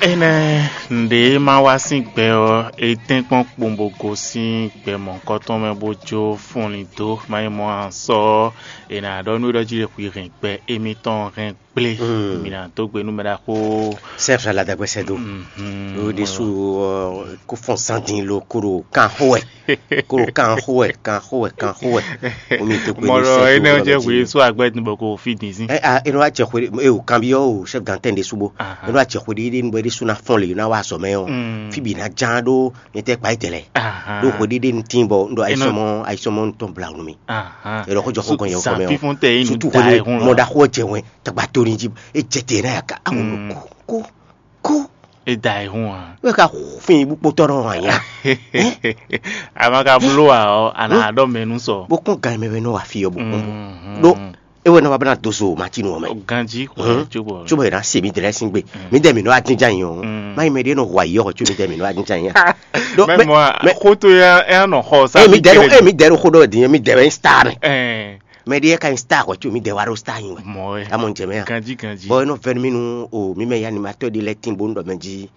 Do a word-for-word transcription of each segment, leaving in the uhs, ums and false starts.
Énɛ́ nǔɖé ma wá sín gbɛ ɔ́, é tɛ́nkpɔ́n kpowun bó gosín gbɛ mɔ̌hunkɔtɔn mɛ bó jó fɔnlin dó. Má nyí mɔ̌ ǎ, sɔ ɔ́, è nǎ ɖɔ nú é ɖɔ jí lě hwi hɛn gbɛ émítɔn hɛn gblé. Mǐ ná dó gbe nú mɛ ɖaxó. Sɛ́ fla la dagbe sɛ́ dó. Ló ɖésú ɔ́, kó fɔ́n zan dín lo kó ɖo kan xó wɛ. Kó ɖo kan xó wɛ, kan xó wɛ, kan xó wɛ. Omi tó kpé Mɔlɔ énɛ́ jẹ́ wòye só agbɛ́ dun bɔ kò fi dín sín. Ɛ a eno wa jɛ xwe e o kanbi ɔ o chef d'antenne de subo. Eno wa jɛ xwe ɖiɖi nu bɔ ɖi suna fɔn le na wa sɔ mɛ ɔ. Fi bi na jan ɖo ne tɛ kpa etɛ lɛ. Ɖo xwe ɖiɖi nu tin bɔ ndo ayisɔmɔ ayisɔmɔ nu tɔn bla nu mi. Eno ko jɔ xo gɔn yɛ xɔ mɛ ɔ. Sutu xwe mɔ da xo jɛ wɛn tagba to ni ji e jɛ te na ya ka awo ko ko ko. E da yi hun a. Wɛ ka fin bu kpotɔ nɔ anya. A ma ka bló a ɔ, a nǎ ɖɔ mɛ nú sɔ. Bó kún gan mɛ wɛ nɔ wa fi ɔ bó kún bó. Ɖó e wɛ nɔ wa bena dozo matinu ɔ mɛ. Ganji xɔ tso bɔ. Tso bɔ yɛrɛ se mi dɛrɛ sin gbe. Mi dɛ mi nɔ adinjan yi ɔ. Ma yi mɛ ɖe nɔ hwa yi ɔ tso mi dɛ mi nɔ adinjan yi. Mɛ mɔ a, xótó ya ɛ nɔ xɔ sa. E mi dɛ ɖo e mi dɛ ɖo xó ɖɔ din mi dɛ wɛ star mɛ. Mɛ ɖe ka nyi star xɔ tso mi dɛ wa ɖo star nyi wɛ. Mɔ wɛ. Amɔ n jɛ mɛ a. Ganji ganji. Bɔn e nɔ vɛn mi nu o mi mɛ ya ni ma tɔ ɖe lɛ tin bo n ɖɔ mɛ jí.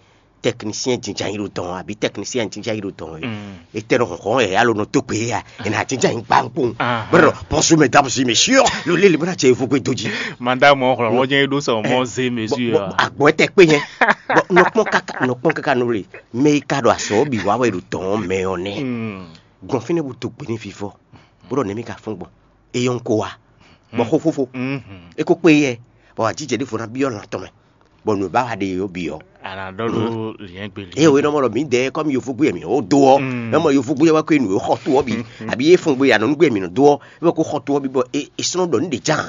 Technicien jinjin yi ɖo dɔn abi technicien jinjin yi ɖo dɔn. Etɛ nɔ hɔn hɔn ɛ alo nɔ to gbe ya ena jinjin yi gba nkpɔn. Bro, bonjour mesdames et messieurs, le le le bena cɛ evo gbe doji. Madame ɔ xlɔ ɔjɛ ɖo sɔ mɔ ze mesure. Agbɔ tɛ kpe nyɛ. Nɔkpɔn kaka nɔkpɔn kaka nɔ le mɛ yi ka ɖo asɔ bi wa wɛ ɖo dɔn mɛ ɔ nɛ. Gbɔn fínɛ́ bu to gbe ní vivɔ bó ɖɔ nɛmí ka fún gbɔn. Eyɔn ko wa bɔ xóxófó. E ko kpe yɛ bɔ ajijɛ ɖé fo ná byɔ́ lan tɔn mɛ bɔ nǔ e ba wa ɖe yě ó byɔ́. A nǎ ɖɔ ɖó lǐnyɛ́gbe lǐnyɛ́gbe. Eye wòye nɔ mɔ ɖɔ mǐdɛɛ kɔmi yovogbé yɛ mǐ ó dó ɔ́, mɛ mɔ yovogbé yɛ wá kó nǔ e xɔ to ɔ́ bǐ abi e fɔn gbé anɔnugbe mǐ nɔ dó ɔ́, é wɛ kó xɔ to ɔ́ bǐ bɔ é é sɔ́ nɔ ɖɔ nǔ ɖě ján.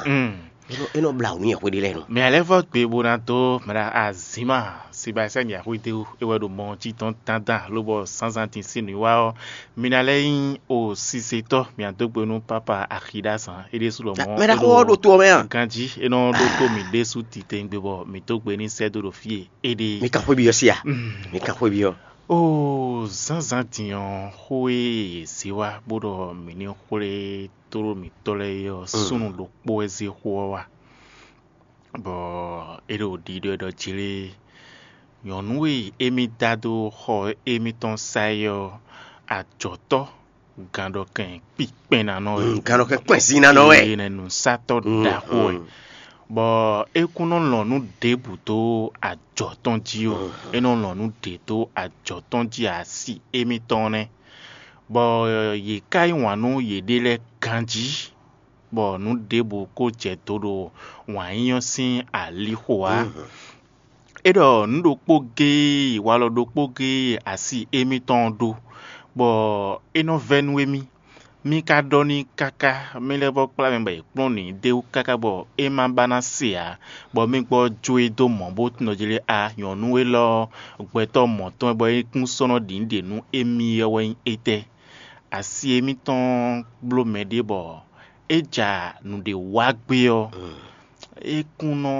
É nɔ é nɔ bla wǔ nú yɛ xwé ɖé lɛ́ɛ nɔ. Mɛ alɛ́ vɔ gbe bó ná dó mɛ ɖa azǐma Sebastian Yahuidewu é wɛ ɖo mɔ jí tɔn dandan lobɔ zǎnzǎn din sín nǔwiwa ɔ́, mi ná lɛ́ nyí o sisetɔ́ mǐadógbe nú pápa Axiɖazán é ɖésú lɔ mɔ̌. Mɛ ɖaxó ɔ́ ɖo to ɔ́ mɛ a? Ganjí é nɔ ɖótó mǐ ɖésú titewungbe bɔ mǐ dó gbe ní sɛ́ dó ɖo fí e é ɖe é. Mi kan xwé byɔ́ sí a? Mi kan xwé byɔ́. Oo, zǎnzǎn din ɔ́, xó e è zě wá bó ɖɔ mǐ ní xwlé tlóló mǐtɔn lɛ́ɛ é ɔ́, súnnu ɖokpó wɛ zé xó ɔ́ wá. Bɔ é ɖo ɖiɖɔ ɖɔ jlé nyɔ̌nu e émí dá dó xɔ émítɔn sá é ɔ́, ajɔ̌tɔ́ gǎnɖɔkɛn kpikpɛnnanɔ wɛ. Gǎnɖɔkɛn kpɛnzínnanɔ wɛ. Eye nɛ nǔsatɔ́ ɖaxó wɛ. Bɔ é kún nɔ lɔn nǔ ɖěbǔ dó ajɔ̌ tɔn jí ó. É nɔ lɔn nǔ ɖě dó ajɔ̌ tɔn jí asi émítɔn nɛ́. Bɔ yě ká yí wǎn nú yěɖée lɛ́ɛ ganjí, bɔ nǔ ɖěbǔ ko jɛ do ɖo wǎn yíyɔ́ sín alixo ǎ. É ɖɔ nǔ ɖokpó géé walɔ ɖokpó géé asi émítɔn ɔ́ ɖó, bɔ é nɔ vɛ́ nú émí. Mí ka ɖɔ n'i káká, mí lɛ́ vɔ́ kplá mɛ bɔ è kplɔ́n nǔ i d'é wú káká bɔ é ma ba ná se ǎ, bɔ mí gbɔ jó e dó mɔ̌ bó tunɔ jí lé a nyɔ̌nu élɔ́ ɔ́, gbɛtɔ́ mɔ̌tɔn wɛ bɔ é kún sɔ́ nɔ ɖi nǔ ɖe nú émí ɔ́ wɛ nyí étɛ́? Asi émítɔn bló mɛ ɖé bɔ é ja nǔɖé wa gbé ɔ́, é kún nɔ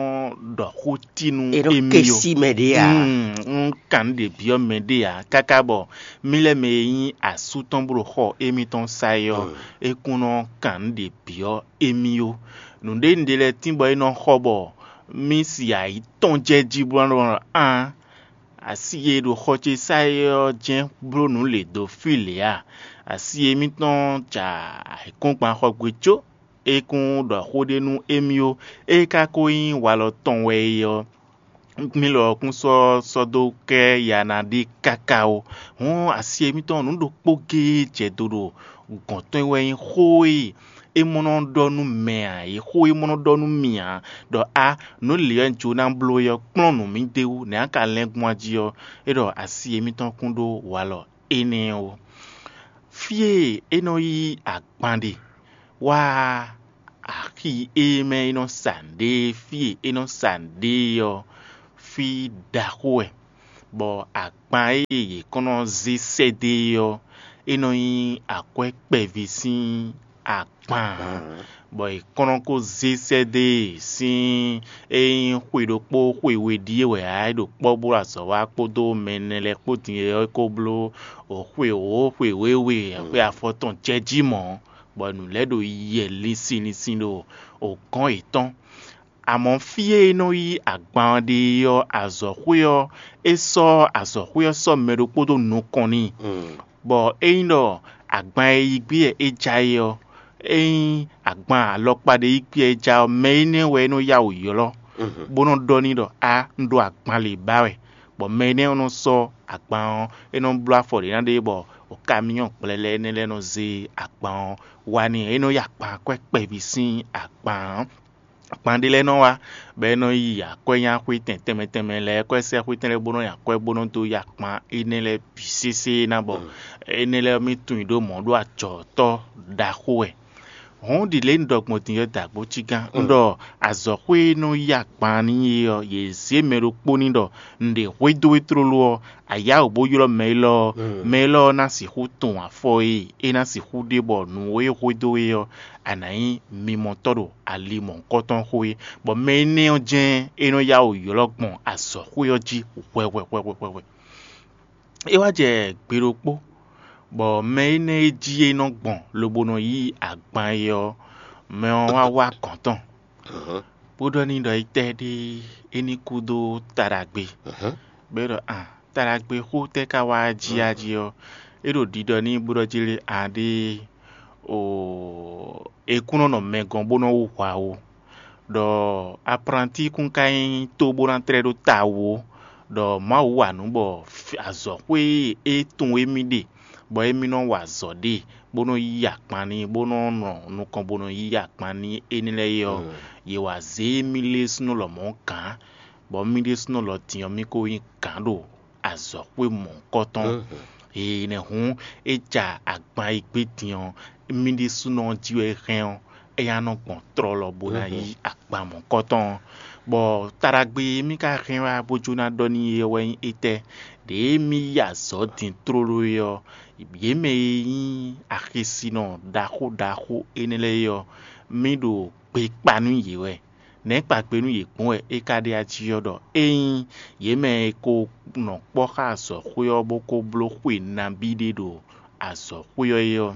ɖɔ xó tí nú émí ɔ́. É nɔ kɛsí mɛ ɖé ǎ. Un kan nǔ ɖě byɔ́ mɛ ɖé ǎ káká bɔ mí lɛ́ mɛ e nyí asú tɔn bó ɖo xɔ émítɔn sa é ɔ́, é kún nɔ kan nǔ ɖě byɔ́ émí ó. Nǔɖé nǔɖé lɛ́ɛ tín bɔ é nɔ xɔ bɔ mí si ayǐ tɔn jɛ jí bó nɔ ɖɔ án. Asi e ɖo xɔ ce sá é ɔ́ jɛ́n bló nǔ lě dó fí lě a? Asi émítɔn ja ayǐkúngban xɔ gbe có é kún ɖɔ xó ɖé nú émí ó. É ka ko nyí walɔ tɔn wɛ é ɔ́, mí lɔ kún sɔ́ sɔ́ dó kɛ ya ná ɖe káká ó. Hǔn asi émítɔn nǔ ɖokpó géé jɛ do ɖo gɔ̌n tɔn wɛ nyí xó e é mɔ nɔ ɖɔ nú mɛ ǎ, é xó é mɔ nɔ ɖɔ nú mì ǎ, ɖɔ a nǔ lě wɛ un jló ná bló é ɔ́, kplɔ́n nǔ mì d'é wú, nɛ̌ a ka lɛ́n gbɔn jí ɔ́, é ɖɔ asi émítɔn kún ɖó walɔ énɛ́ ó. Fí e é nɔ yí agban ɖe wá axi e mɛ é nɔ sa nǔɖé, fí e é nɔ sa nǔɖé ɔ́, fí ɖaxó wɛ, bɔ agban e yě kɔn nɔ zé sɛ́dó é ɔ́, é nɔ nyí akwɛ́ kpɛví sín agban, bɔ è kɔn nɔ ko zé sɛ́dó e sín é nyí xwe ɖokpó xwe we ɖíe wɛ ǎ, é ɖo kpɔ́ bó ɖo azɔ̌ wa kpódó mɛ ɛnɛ lɛ́ɛ kpó din é ɔ́, é ko bló xwe wǒ, xwe wěwe, xwe afɔtɔn jɛ jí mɔ̌, bɔ nǔ lɛ́ɛ ɖo yɛ linsin linsin ɖo gɔ̌n yětɔn. Amɔ̌ fí e é nɔ yí agban ɔ́ ɖe é ɔ́, azɔ̌xwé ɔ́, é sɔ́ azɔ̌xwé ɔ́ sɔ́ mɛ ɖokpó dó nukɔn n'i, bɔ ényí ɖɔ agban e yí gbé wɛ é já é ɔ́, ényí agban alɔkpa ɖé yí gbé wɛ é já ɔ́, mɛ énɛ́ wɛ é nɔ yá wǔ ylɔ́, bó nɔ́ ɖɔ n'i ɖɔ: "A, un ɖo agban lě ba wɛ." Bɔ mɛ énɛ́ ɔ́ nɔ sɔ́ agban ɔ́, é nɔ bló afɔ ɖě ná ɖe bɔ kaminyɔ́ gblɛlɛ énɛ́ lɛ́ɛ nɔ zé agban ɔ́ wá n'i. É nɔ yí agban akwɛ́ kpɛví sín agban ɔ́. Agban ɖé lɛ́ɛ nɔ wá, bɔ é nɔ yi akwɛ́nyáxwétɛn tɛnmɛ tɛnmɛ lɛ́ɛ, akwɛ́sɛ́xwétɛn lɛ́ɛ bó nɔ́ nyi akwɛ́ bó nɔ́ dó yi akpan énɛ́ lɛ́ɛ bǐ sésé ná, bɔ énɛ́ lɛ́ɛ ɔ́, mì tunwun i ɖó mɔ̌ ɖó ajɔ̌tɔ́ ɖaxó wɛ. Hɔ̌n ɖi lě un ɖɔ gbɔn din ɔ́ dó agbócígán. Un ɖɔ azɔ̌xwé e nɔ yí agban n'i é ɔ́, yě zě mɛ ɖokpó n'i ɖɔ: "Un ɖe hwedó we tlóló ɔ́, a yá wǔ bó ylɔ́ mɛ élɔ́ ɔ́, mɛ élɔ́ ɔ́ ná sixú tunwun afɔ e é ná sixú ɖe bɔ nǔ e hwedó we ɔ́, a nǎ nyí mimɔtɔ́ ɖo ali mɔ̌hunkɔtɔn xo é." Bɔ mɛ énɛ́ ɔ́ jɛ́n é nɔ yá wǔ ylɔ́ gbɔn azɔ̌xwé ɔ́ jí hwɛhwɛhwɛhwɛhwɛ. É wá jɛ gbe ɖokpó, bɔ mɛ énɛ́ e jí é nɔ gbɔn lobo nɔ yí agban é ɔ́, mɛ ɔ́ wá wá gɔ̌n tɔn, bó ɖɔ n'i ɖɔ étɛ́ ɖé é ní kú dó taɖagbe. Bɔ é ɖɔ: "A, taɖagbe xó tɛ́ ka wá jí a jí ɔ́?" É ɖo ɖiɖɔ n'i bó ɖɔ jí lé: "A ɖée, o, è kún nɔ nɔ mɛ gɔ́n bó nɔ́ wú hwa ó, ɖɔ aplantíkún ka nyí tó bó ná tlɛ́ ɖó tawu ó, ɖɔ Mawu wa nǔ bɔ azɔ̌xwé e é tunwun émí ɖe, bɔ émí nɔ wa azɔ̌ ɖe, bó nɔ yí akpan n'i, bó nɔ nɔ nukɔn bó nɔ yí akpan n'i énɛ́ lɛ́ɛ é ɔ́, yě wá zé émí lɛ́ɛ súnnu lɔmɔ̌ gǎn, bɔ mì ɖésúnɔ lɔ din ɔ́, mì ko nyí gǎn ɖo azɔ̌xwé mɔ̌hunkɔtɔn. Ee, nɛ̌ hǔn é ja agban e gbé din ɔ́, mì ɖésúnɔ ɔ́ jí wɛ é hɛn ɔ́, é ná nɔ gbɔn tlɔlɔ bó ná yí agban mɔ̌hunkɔtɔn ɔ́. Bɔ taɖagbe e mì ka hɛn wá bó jó ná ɖɔ n'i é wɛ nyí étɛ́? Ɖěe mì yí azɔ̌ din tlóló é ɔ́, yě mɛ e nyí axisinɔ ɖaxó ɖaxó énɛ́ lɛ́ɛ é ɔ́, mì ɖo gbe kpa nú yě wɛ. Nɛ̌ kpagbe nú yě gbɔn wɛ é ka ɖe ají ɔ́ ɖɔ ényí yě mɛ e ko nɔ kpɔ́ xá azɔ̌xwé ɔ́ bó ko bló xwe nabí ɖé ɖo azɔ̌xwé ɔ́ é ɔ́,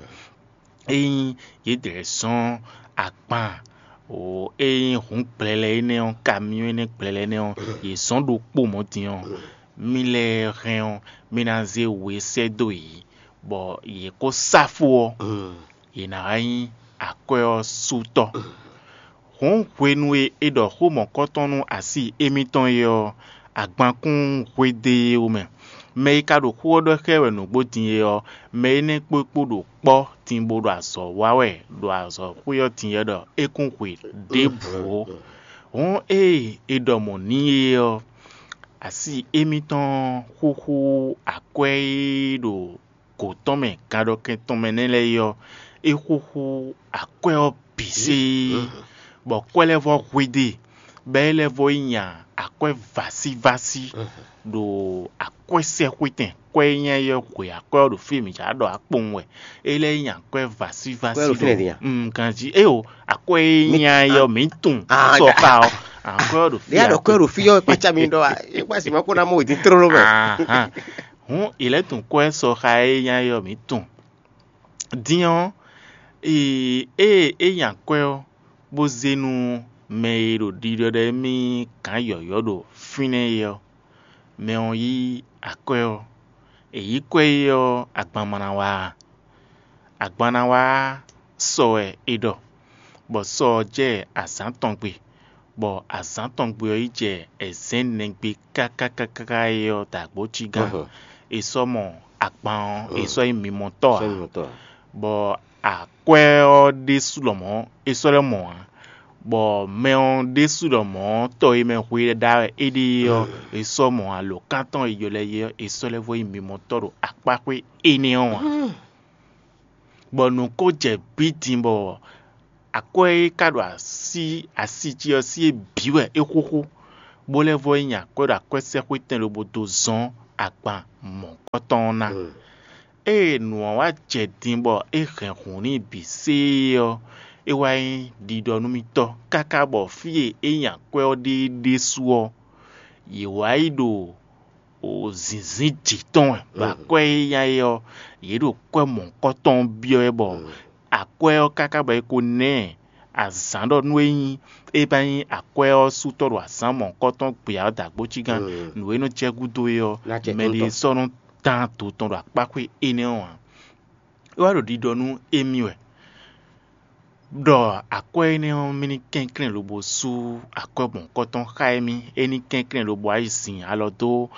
ényí yě dlɛ̌ zɔ́n agban e nyí hǔn gblɛlɛ énɛ́ ɔ́, kamyɔ́n énɛ́ gblɛlɛ énɛ́ ɔ́, yě zɔ́n ɖokpó mɔ̌ din ɔ́, mì lɛ́ɛ hɛn ɔ́, mì ná zé we sɛ́ dó yě, bɔ yě kó sá fó ɔ́, yě ná wá nyí akwɛ́ ɔ́ sú tɔ́. Hǔn hwenu e è ɖɔ xó mɔ̌kɔtɔn nú asi émítɔn é ɔ́, agban kún hwedó e wú mɛ. Mɛ e ka ɖo xó ɔ́ ɖɔ xá ɛ wɛ nǔgbó din é ɔ́, mɛ énɛ́ kpó é kpó ɖo kpɔ́ din bó ɖo azɔ̌ wa wɛ ɖo azɔ̌xwé ɔ́ din é ɖɔ é kún hwe ɖěbǔ ó. Hǔn ée è ɖɔ mɔ̌ n'i é ɔ́, asi émítɔn xúxú akwɛ́ e ɖo gǒ tɔn mɛ ganɖɔkɛn tɔn mɛ nɛ́ lɛ́ɛ é ɔ́, é xúxú akwɛ́ ɔ́ bǐ séé, bɔ kwɛ́ lɛ́ɛ vɔ́ hwedó e, bɔ é lɛ́ vɔ́ yi nya akwɛ́ vásívásí ɖo akwɛ́sɛxwétɛn. Kwɛ́ e nyanya é ɔ́ hwe akwɛ́ ɔ́ ɖo fí e mǐ jǎ ɖɔ akpowun wɛ. É lɛ́ yi nya akwɛ́ vásívásí ɖo ganjí. Éyo, akwɛ́ e nyanya é ɔ́, mǐ tunwun sɔxa ɔ́, akwɛ́ ɔ́ ɖo fí. Ɖě a ɖɔ kwɛ́ ɖo fí ɔ́ kpácá mi ɖɔ a? É kpá si ma kó ná mɔ wědín tlóló mɛ. Hǔn è lɛ́ tunwun kwɛ́ sɔxa e nyanya é ɔ́, mǐ tunwun. Din ɔ́, ée é nya kwɛ́ ɔ́, bó zé nú mɛ e ɖo ɖiɖɔ ɖɔ émí gǎn yɔ̌yɔ́ ɖo fínɛ́ é ɔ́, mɛ ɔ́ yí akwɛ́ ɔ́. È yǐ kwɛ́ é ɔ́, agban ma ná wá a? Agban ná wá sɔ wɛ è ɖɔ, bɔ sɔ ɔ́ jɛ azǎn tɔn gbe, bɔ azǎn tɔn gbe ɔ́ yi jɛ ɛzɛ̌n nɛgbé káká káká é ɔ́ dǎgbócí gán. È sɔ́ mɔ agban ɔ́, è sɔ́ nyí mimɔtɔ́ ǎ, bɔ akwɛ́ ɔ́ ɖésú lɔmɔ̌ é sɔ́ lɛ́ mɔ ǎ, bɔ mɛ ɔ́ ɖésú lɔmɔ̌ tɔ e mɛ hwe ɖa wɛ é ɖe é ɔ́, è sɔ́ mɔ alo kántɔn e jɔ lɛ́ é ɔ́, è sɔ́ lɛ́ vɔ nyí mimɔtɔ́ ɖo akpáxwé énɛ́ ɔ́ ǎ. Bɔ nǔ ko jɛ bǐ din bɔ akwɛ́ e ka ɖo así asi jí ɔ́ sí é bǐ wɛ é xúxú, bó lɛ́ vɔ yi nyi akwɛ́ ɖo akwɛ́sɛ́xwétɛn lobo dó zɔ́n agban mɔ̌kɔtɔn ɔ́ ná. Ée nǔ ɔ́ wá jɛ din bɔ é hɛn hǔn n'i bǐ séé ɔ́, é wá nyí ɖiɖɔ nú mì tɔ́ káká bɔ fí e é nyi akwɛ́ ɔ́ ɖe é ɖésú ɔ́, yě wá yi ɖo zǐnzín jǐ tɔn wɛ, bɔ akwɛ́ e nya é ɔ́, yě ɖo kwɛ́ mɔ̌hunkɔtɔn ɔ́ byɔ́ wɛ, bɔ akwɛ́ ɔ́ káká bɔ é ko ná ɛ azǎn ɖɔ nú é nyí é ba nyí akwɛ́ ɔ́ sú tɔ́ ɖo azǎn mɔ̌hunkɔtɔn gbe ǎ dǎgbó cígán, nǔ e nɔ jɛ gúdo é ɔ́, mɛ ɖé sɔ́ nɔ dán do tɔn ɖo akpáxwé énɛ́ ɔ́ ǎ. É wá ɖo ɖiɖɔ nú émí wɛ ɖɔ akwɛ́ énɛ́ ɔ́ mì ní kɛnklɛ́n lobo sú akwɛ́ mɔ̌hunkɔtɔn xá émí, é ní kɛnklɛ́n lobo wá yi zin alɔ dó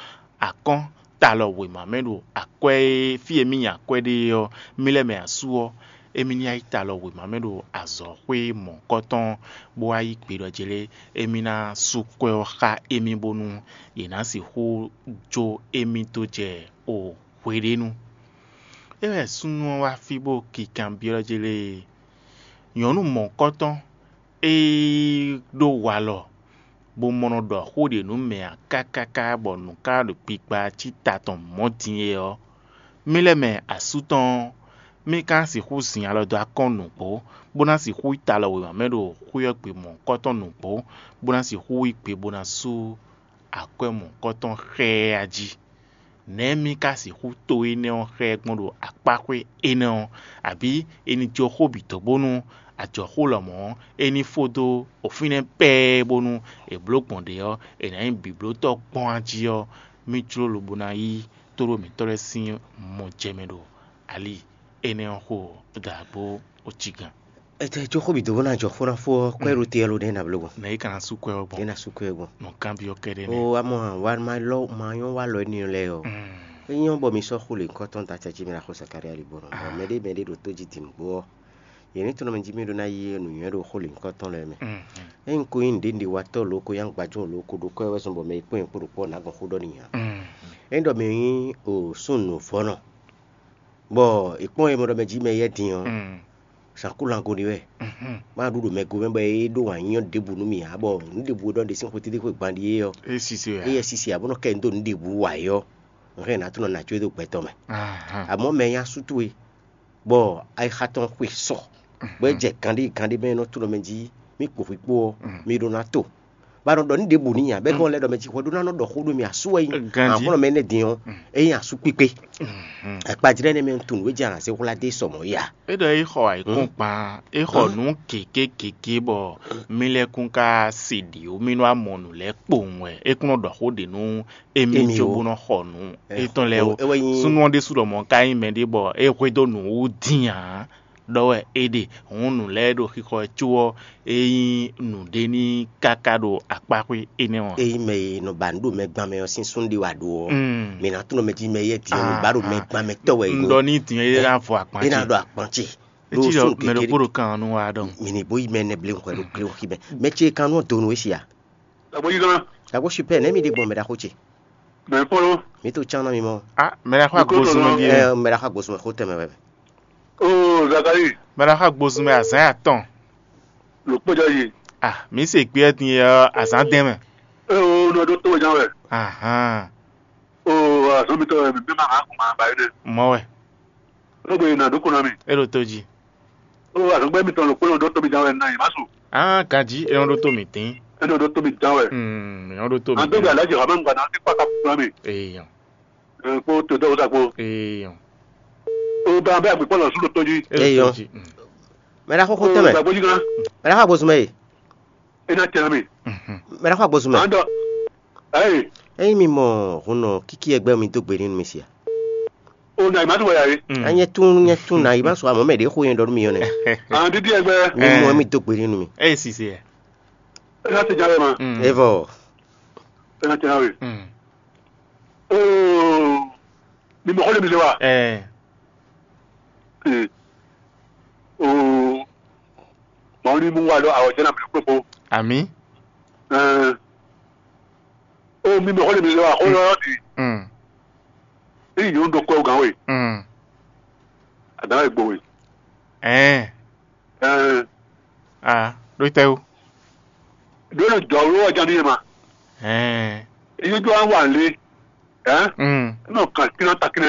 akɔ́n talɔ wěma mɛ ɖo akwɛ́ e fí e mì nyi akwɛ́ ɖe é ɔ́, mì lɛ́ mɛ asú ɔ́, émí ní wá yi talɔ wěma mɛ ɖo azɔ̌xwé mɔ̌hunkɔtɔn, bó wá yí gbe ɖɔ jlé émí ná sú kwɛ́ ɔ́ xá émí bónú yě ná sixú jó émí dó jɛ o hweɖénu. É wɛ súnnu ɔ́ wá fí bó kinkanbyɔ́ jlé nyɔ̌nu mɔ̌hunkɔtɔn e ɖó walɔ bó mɔ nɔ ɖɔ xó ɖě nú mɛ ǎ kákáká bɔ nǔ ka ɖo gbigba cí ta tɔn mɔ̌ din é ɔ́, mì lɛ́ mɛ asú tɔn ɔ́, mì ka ná sixú zin alɔ dó akɔ́n nǔgbó, bó ná sixú yi ta lɔ wěma mɛ ɖo xwé ɔ́ gbe mɔ̌hunkɔtɔn nǔgbó, bó ná sixú yí gbe bó ná sú akwɛ́ mɔ̌hunkɔtɔn xá ɛ a jí. Nɛ̌ mì ka sixú to énɛ́ ɔ́ xá ɛ gbɔn ɖo akpáxwé énɛ́ ɔ́, abǐ è nǐ jó xó bǐ dó bónú ajɔ̌xó lɔmɔ̌ ɔ́, é ní fó dó fínɛ́ pɛ́ɛ́ bónú è blǒ gbɔn ɖě ɔ́, è nǎ nyí bǐblótɔ́ gbɔn a jí ɔ́, mì jló lobo ná yí tóɖó mǐtɔn lɛ́ɛ sín mɔ jɛ mɛ ɖo ali énɛ́ ɔ́ xo dǎgbó ojígán. Etɛ jó xó bǐ dó bó ná jɔ xó ná fó ɔ́, kwɛ́ ɖo te ɔ́ lo ɖɛ́ ná bló gbɔn. Nɛ̌ é ka ná sú kwɛ́ ɔ́ gbɔn? Ɖé ná sú kwɛ́ gbɔn. Nǔkanbyɔ́ kɛ́ɖɛ́ nɛ́. O amɔ wǎ ma lɔ ma nyɔ́ wá lɔ énɛ́ lɛ́ɛ ɔ́. É nyɔ́ bɔ mi sɔ́ xó lě ŋkɔ́tɔn da acɛ jí mi ná xó Zakalía li bó nɔ. Bɔ mɛɖé mɛɖé ɖo tó jí din nǔgbó ɔ́, yě ní tunɔ mɛ jí mì ɖó ná yí nǔnywɛ́ ɖo xó lě ŋkɔ́tɔn lɛ́ɛ mɛ. Ényí ko nyí nǔɖé nǔɖé watɔ́ lǒ ko nyí agbajɔ́ lǒ ko ɖó kwɛ́ wɛ zɔn bɔ mɛ yi kpɔ́n nyɛ kpó ɖo kpɔ́ nǎ gbɔn xó ɖɔ n'i ǎ. Ényí ɖɔ mɛ nyí o súnnu nǔvɔ́nɔ, bɔ è kpɔ́n e mɔ ɖɔ mɛ jí mɛ yɛ́ din ɔ́, zǎn kú lango ɖi wɛ. Má ɖu ɖo mɛ gomɛ bɔ é ɖó wǎn nyínyɔ́ ɖěbǔ nú mì ǎ, bɔ nǔ ɖěbǔ e ɖɔ ɖe sín xwetɛ́ntin xwé gban ɖíe ɔ́, é sisi wɛ é yɛ sisi ǎ bó nɔ kɛ nyi dó nǔ ɖěbǔ wa é ɔ́, un hɛn nǎ tunɔ nǎ có é dó gbɛtɔ́ mɛ. Àmọ́ mɛ nyí asú towe, bɔ ayixa tɔn xwe sɔ, bɔ é jɛ ganɖé ganɖé mɛ e nɔ tunɔ mɛ jí mì kpo hwi kpó ɔ́, mi ɖó ná to. Ba nɔ ɖɔ nǔ ɖěbǔ n'i ǎ, bɔ é gbɔn lɛ́ ɖɔ mɛ jí hwɛɖó ná nɔ ɖɔ xó ɖó mi asú wɛ nyí. Ganjí. Aklúnɔ mɛ énɛ́ din ɔ́, é nyí asú kpíkpé. Akpajlɛ́ énɛ́ mɛ un tunwun nǔ e jɛ alǎ zé hwlá dó sɔ mɔ̌ yí ǎ. É ɖɔ é xɔ ayǐkúngban, é xɔ nǔ gěgé gěgé bɔ mì lɛ́ kún ka se ɖě ó, mì nɔ wá mɔ nǔ lɛ́ɛ kpowun wɛ. É kún nɔ ɖɔ xó ɖě nú émí Émí cóbó ó. Nɔ xɔ nǔ Ɛ, étɔn lɛ́ɛ ó, ó. É wɛ nyí Súnnu ɔ́ ɖésú ɖɔ mɔ̌ ka nyí mɛɖé bɔ é hwedó nǔ wú dín ǎ. Ɖɔ wɛ é ɖe hǔn nǔ lɛ́ɛ ɖo xixɔ ɛ có ɔ́, é nyí nǔɖé ní káká ɖo akpáxwé énɛ́ ɔ́. Ényí mɛ e nɔ ba nǔ ɖo mɛ gban mɛ ɔ́ sín súnnu ɖé wá ɖó ɔ́, Mm. mǐ ná tunɔ mɛ jí mɛ yɛ din ɔ́, mǐ ba ɖo mɛ gban mɛ tɔ́ wɛ Un ɖɔ ní din é ná vɔ akpan é ná ce. Ɖo akpan ce. É cí ɖɔ mɛ ɖokpó ɖo kan ɔ́ nú wa ɖɔn. Mǐ ní bó yí mɛ nɛ blé hwɛ ɖo glé xi mɛ. Mɛ ce kan nú ɔ́ donu é sia. Agbo yí gán. Agbo super nɛ mi ɖe gbɔn mɛ ɖaxó ce. Mɛ kpɔ́n ló. Mi to can na mi mɔ. Ah, mɛ ɖaxó Nukó agbozu tɔn mɛ nɔ. Ɖie. Ɛ, mɛ ɖaxó agbozu mɛ xó tɛmɛ wɛ. Oo, Zakari. Mɛ ɖaxó agbozu mɛ azán atɔn. Ló kpɔ́ jɔ yi. Ah, mi se gbé ɛ din yɛ azán dɛn mɛ. Ee o, nɔ ɖó tó wɛ ján wɛ. Ahan. Oo, azɔn mitɔ wɛ mi bí ma ma kún ma ba yi dɛ. Mɔ wɛ. Ló gbe na ɖó kó na mi. E ɖo tó jí. Oo, azɔn gbɛ mitɔ ló kpɔ́n ɖó tó mi ján wɛ na yi ma su. Ah, ganjí e nɔ ɖó tó mi dín. E nɔ ɖó tó mi ján wɛ. Hmm, e nɔ ɖó tó mi. An tó gbe dín. Alájì Rahman gba na ti kpata kpla mi. Èèyàn. Ẹ kpó tó dɔwọ́ sa kpó. Èèyàn. Oo, bɛ abẹ́ àgbẹ̀kpọ̀ lọ sún ló tó jí. E ɖo tó Èèyàn. Jí. Hmm. Mɛ ɖaxó xó tɛmɛ. Gbagbó jí kan. Mɛ ɖaxó agbozu mɛ yi. E na tẹ na mi. Mhm. Mɛ ɖaxó agbozu mɛ. An dɔ. Ayi. Eyi mi mɔ hun nɔ kiki ɛgbɛ mi do gbe ni mi sia. O na ima to wɛ ya ye. Mm. Anyɛ tun nyɛ tun na ima sɔ amɔ mɛ de xo yɛn dɔ mi yɔ nɛ. An didi ɛgbɛ. Mi mɔ mi do gbe ni mi. Eye sise. E na te ja wɛ ma. Mm. Evɔ. E na te na we. Mm. Oo. Mi mɔ xɔ le mi le wa. Ɛɛ. Ee. Oo. Mɔɔ ní mú wa ɖo awɔjɛ ná bló kpókpó. Àmì. Ɛɛ. Oo, mi mɛ xɔ le mi lɛ wa xɔ lɔ di. Mm. Eyi nyɔnu ɖo kɔ gán we. Mm. Adan e gbo we. Ɛɛ. Ɛɛ. A ɖo tɛ o. Ɖo ne jɔ wo wa jan ni ma. Ɛɛ. Eyi jɔ an wa le. Ɛɛ. Mm. Nɔ kan kina ta kina.